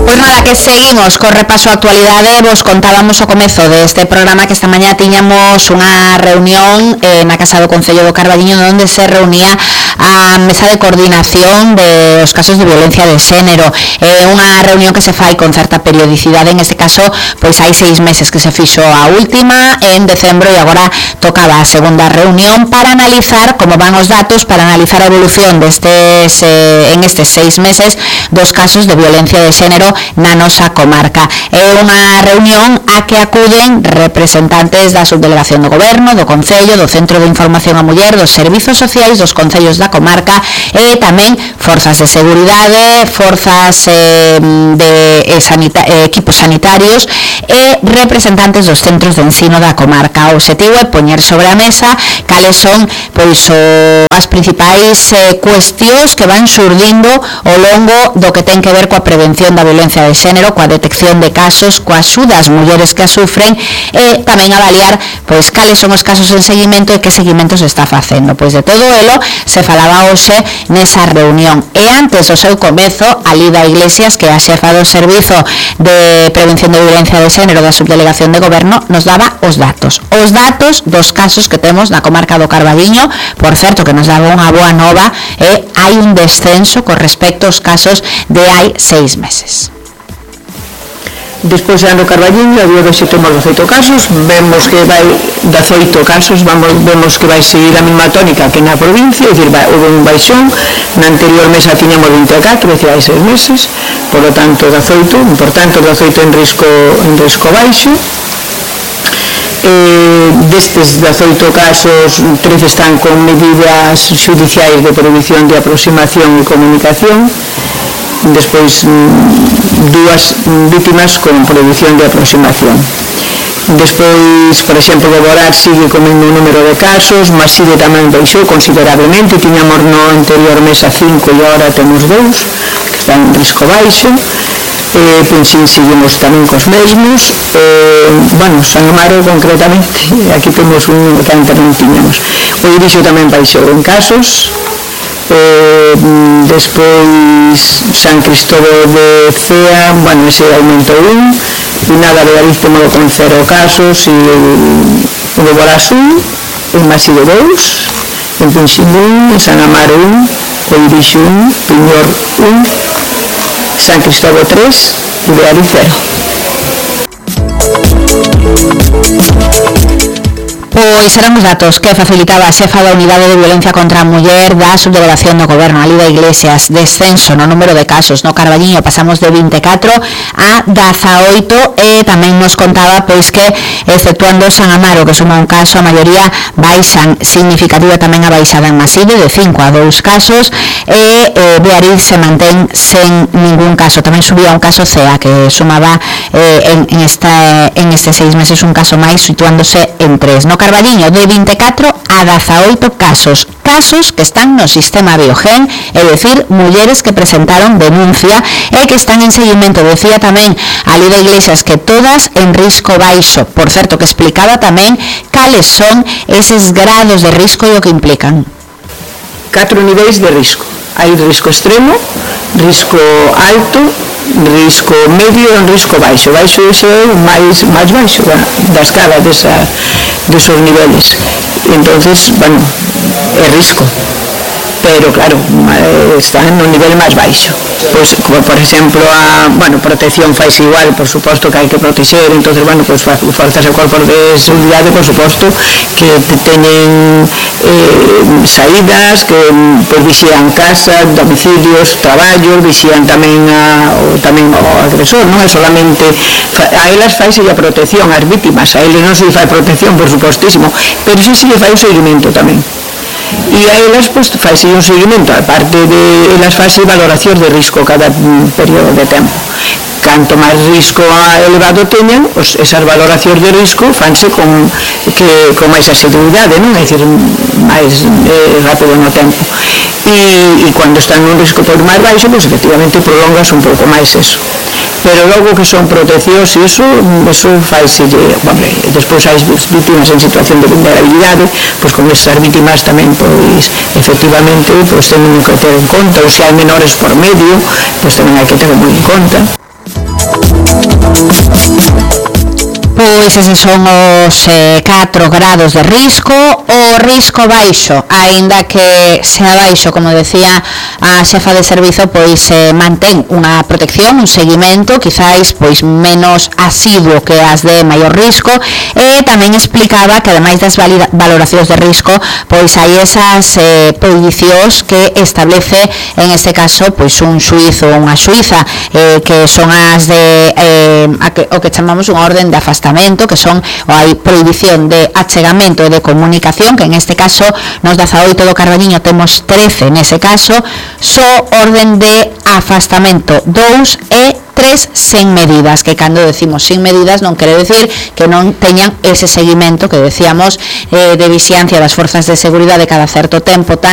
Pois nada, que seguimos co repaso a actualidade. Vos contábamos ao comezo deste programa que esta mañá tiñamos unha reunión na Casa do Concello do Carballiño onde se reunía a mesa de coordinación dos casos de violencia de xénero. Unha reunión que se fai con certa periodicidade, en este caso pois hai 6 meses que se fixo a última en decembro e agora tocaba a segunda reunión para analizar como van os datos, para analizar a evolución destes en estes 6 meses dos casos de violencia de xénero na nosa comarca. É unha reunión a que acuden representantes da subdelegación do Goberno, do Concello, do Centro de Información á Muller, dos Servizos Sociais, dos Concellos da comarca e tamén forzas de seguridade, forzas equipos sanitarios e representantes dos centros de ensino da comarca. O obxectivo é poñer sobre a mesa cales son pois as principais cuestións que van xurdindo ao longo do que ten que ver coa prevención da violencia de xénero, coa detección de casos, coa axuda ás mulleres que a sufren e tamén avaliar pois cales son os casos en seguimento e que seguimento se está facendo. Pois de todo elo se falaba hoxe nesa reunión. E antes do seu comezo, Alida Iglesias, que é a xefa do Servizo de Prevención de Violencia de Xénero da Subdelegación de Goberno, nos daba os datos dos casos que temos na comarca do Carballiño. Por certo, que nos daba unha boa nova, hai un descenso con respecto aos casos de hai 6 meses. Despois no Carballiño, a día de hoxe temos 18 casos, vemos que vai 18 casos, vemos que vai seguir a mesma tónica que na provincia, é dicir, houve un baixón, na anterior mesa tiñamos 24, é dicir, hai 6 meses, por lo tanto 18, importante, 18 en risco baixo. Destes 18 casos, 13 están con medidas judiciais de prohibición de aproximación e comunicación. Despois 2 vítimas con prohibición de aproximación. Despois, por exemplo, Boborás sigue con o mesmo número de casos, Maside tamén baixou considerablemente, tiñamos no anterior mesa 5 e agora temos 2 que están en risco baixo. Penxín seguimos tamén cos mesmos. San Amaro concretamente, aquí temos un número que antes non tiñamos. O Irixo tamén baixou en casos. Despois San Cristóbal de Cea, ese aumentou 1, e nada, de Galiz temos con 0 casos, e o de Borás 1, en Maside 2, en Penxín 1, en San Amaro 1, o Irixo 1, Piñor 1, San Cristóbal 3 e de Galiz 0. Pois eran os datos que facilitaba a xefa da Unidade de Violencia contra a Muller da Subdelegación do Goberno, Alida Iglesias. Descenso no número de casos no Carballiño, pasamos de 24 a 18 e tamén nos contaba pois que, exceptuando San Amaro, que suma un caso, a maioría baixan. Significativa tamén a baixada en Maside, de 5 a 2 casos, e Beariz se mantén sen ningún caso. Tamén subía un caso CEA, que sumaba en estes 6 meses un caso máis, situándose en 3. No Carballiño, de 24 a 18 casos que están no sistema Biogen, é dicir, mulleres que presentaron denuncia e que están en seguimento. Decía tamén a Alida Iglesias que todas en risco baixo. Por certo, que explicaba tamén cales son eses grados de risco e o que implican. 4 niveis de risco. Hai risco extremo, risco alto, risco medio e un risco baixo. Baixo é o máis baixo da escala desos niveles. Entonces, é risco, pero claro, está no nivel máis baixo. Pois, como por exemplo, protección faise igual, por suposto que hai que protexer, entonces, forzas e corpos de seguridade, por suposto, que teñen saídas, que vixían casas, domicilios, traballos, vixían tamén o agresor, non é solamente a elas faise a protección, ás vítimas, a eles non se fai protección, por supostísimo, pero sí fai o seguimento tamén. E a elas faise un seguimento, aparte de elas faise valoracións de risco cada período de tempo. Canto máis risco elevado teñan, esas valoracións de risco fanse con máis asiduidade, non? É dicir, máis rápido no tempo. E cando están nun risco máis baixo, efectivamente prolongas un pouco máis eso. Pero logo que son proteccións e eso faise, despois hai vítimas en situación de vulnerabilidade, con esas vítimas tamén, efectivamente, temen que ter en conta, ou se hai menores por medio, tamén hai que ter moi en conta. Pois eses son os 4 grados de risco. O risco baixo, aínda que sea baixo, como decía a xefa de servizo, pois mantén unha protección, un seguimento, quizáis pois menos asiduo que as de maior risco, e tamén explicaba que ademais das valoracións de risco, pois hai esas prohibicións que establece en este caso pois un xuízo ou unha xuíza, que son as de o que chamamos unha orden de afastamento, que son hai prohibición de achegamento e de comunicación, que en este caso nos 18 do Carballiño temos 13 nese caso, só orden de afastamento 2 e 3 sen medidas, que cando decimos sin medidas non quere decir que non teñan ese seguimento que decíamos de vixiancia das forzas de seguridade cada certo tempo, tanto